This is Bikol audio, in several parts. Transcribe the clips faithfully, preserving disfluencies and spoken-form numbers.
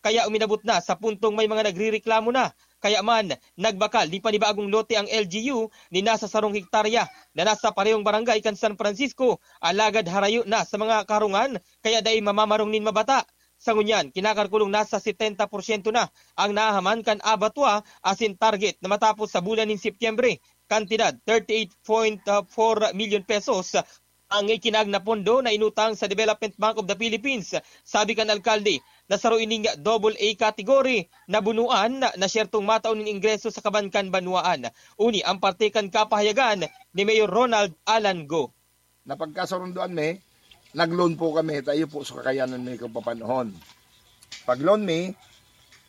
kaya uminabot na sa puntong may mga nagrereklamo na. Kaya man, nagbakal nin panibagong lote ang L G U nin nasa sarong hektarya na nasa parehong barangay kan San Francisco, alagad harayo na sa mga karungan, kaya dai mamamarong nin mabata. Sa ngunyan, kinakalkulong nasa setenta porsyento na ang nahahaman kan abattoir asin target na matapos sa bulan nin Setyembre, kantidad thirty-eight point four million pesos ang ikinag na pondo na inutang sa Development Bank of the Philippines. Sabi kan alkalde na saro ining double A category na bunuan na siyertong matao nin ingreso sa kaban kan banwaan. Uni ang parte kan kapahayagan ni Mayor Ronald Alan Go. Napagkasurunduan mi, nag-loan po kami, tayo po sa kakayanan mi kung papanahon. Pag-loan mi,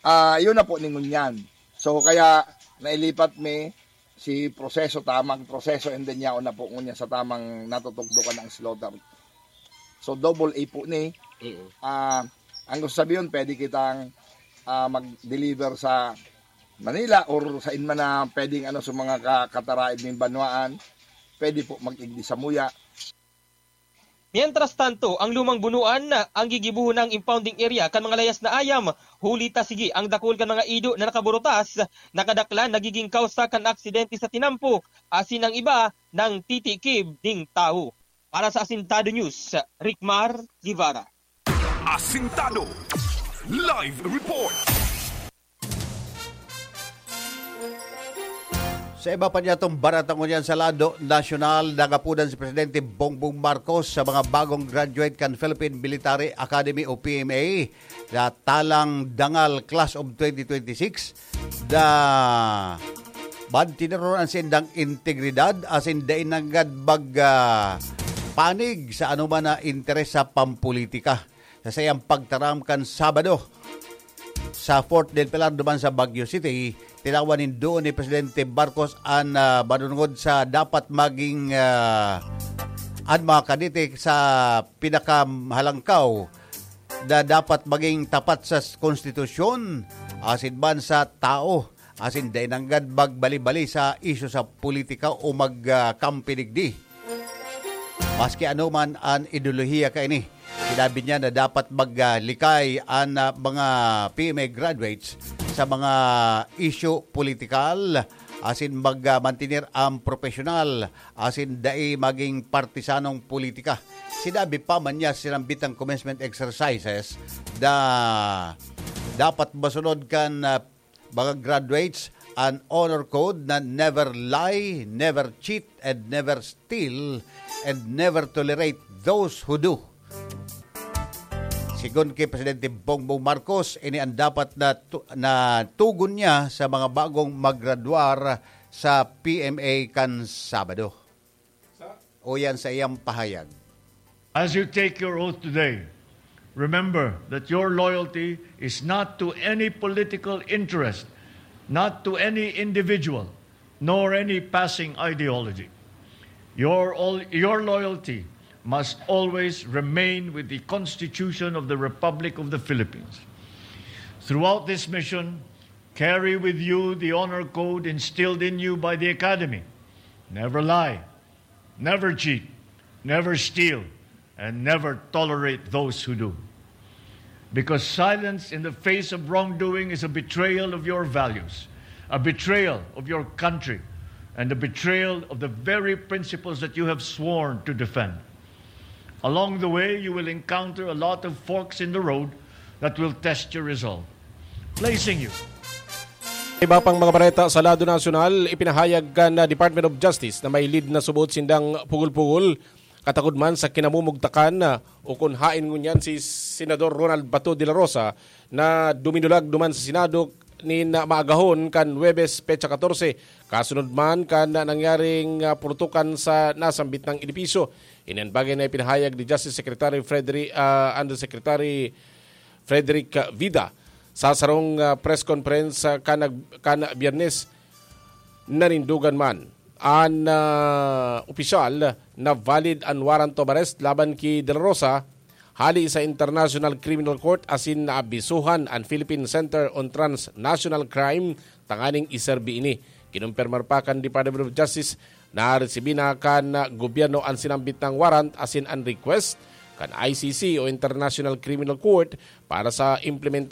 ah, yun na po ningon yan. So, kaya nailipat mi si proseso, tamang proseso, and then yaon na po ngunyan sa tamang natutugdukan ng slaughter. So, double A po ni. Ah, ang gusto sabihin, pwede kitang ah, mag-deliver sa Manila or sa inman na pwedeng ano sa mga ka- kataraib ning banwaan, pwede po mag-igdi sa muya. Mientras tanto, ang lumang bunuan ang gigibohon ng impounding area kan mga layas na ayam, huli ta sige ang dakul kan mga ido na nakaburutas, nakadaklan, nagiging kausa kan aksidente sa tinampo, asin ang iba nang titikib ning tawo. Para sa Asintado News, Rickmar Guevara. Asintado Live Report. Sa iba pa niyatong barata ngunyan sa lado nasyonal, nagapudan si Presidente Bongbong Marcos sa mga bagong graduate kan Philippine Military Academy o P M A na talang dangal Class of twenty twenty-six na mantineron an sindang integridad asin dai nanggad mag, ah, panig sa anoman na interes sa pampolitika. Sa saiyang pagtaram kan Sabado sa Fort del Pilar duman sa Baguio City, tinawan nin duon ni Presidente Marcos an, ah, manunungod sa dapat maging, ah, an mga kadete sa pinakahalangkaw na dapat maging tapat sa konstitusyon asin man sa tao, asin dai nanggad magbali-bali sa isyu sa politika o mag, ah, kampi digdi. Maski ano man an ideolohiya kaini, sinabi niya na dapat maglikay an, ah, mga P M A graduates sa mga isyu politikal asin mag, ah, mantener ang propesyonal asin dai maging partisanong politika. Sinabi pa man niya sinambit ang commencement exercises na dapat masunod kan, ah, mga graduates an honor code na never lie, never cheat, and never steal, and never tolerate those who do. Sigon ki Presidente Bongbong Marcos, ini an dapat na tu-, na tugon niya sa mga bagong maggraduar sa P M A kan Sabado. Uyan sa iyang pahayag. As you take your oath today, remember that your loyalty is not to any political interest, not to any individual, nor any passing ideology. Your, all, your loyalty must always remain with the Constitution of the Republic of the Philippines. Throughout this mission, carry with you the honor code instilled in you by the Academy. Never lie, never cheat, never steal, and never tolerate those who do. Because silence in the face of wrongdoing is a betrayal of your values, a betrayal of your country, and a betrayal of the very principles that you have sworn to defend. Along the way, you will encounter a lot of forks in the road that will test your resolve. Placing you Iba pang mga bareta sa lado nasyonal, ipinahayag kan Department of Justice na may lead na subot sindang pugol-pugol, katagod man sa kinamumugtakan, o kun haen ngunyan si Senador Ronald Bato de la Rosa na duminulag duman sa Senado nin maagahon kan Huwebes, petsa katorse, kasunod man kan nangyaring, ah, purutukan sa nasambit nang edipisyo. Ini an bagay na ipinahayag ni Justice Secretary Frederick, ah, Undersecretary Frederick Vida sa sarong, ah, press conference, ah, kanag-, kan Biyernes. Nanindogan man an, ah, opisyal na valid an warrant of arrest laban ki De La Rosa hali sa International Criminal Court asin naabisuhan an Philippine Center on Transnational Crime tanganing iserbi ini. Kinumpirmar pa kan Department of Justice na resibi na kan gobyerno an sinambit na warrant asin an request kan I C C o International Criminal Court para sa implementasyon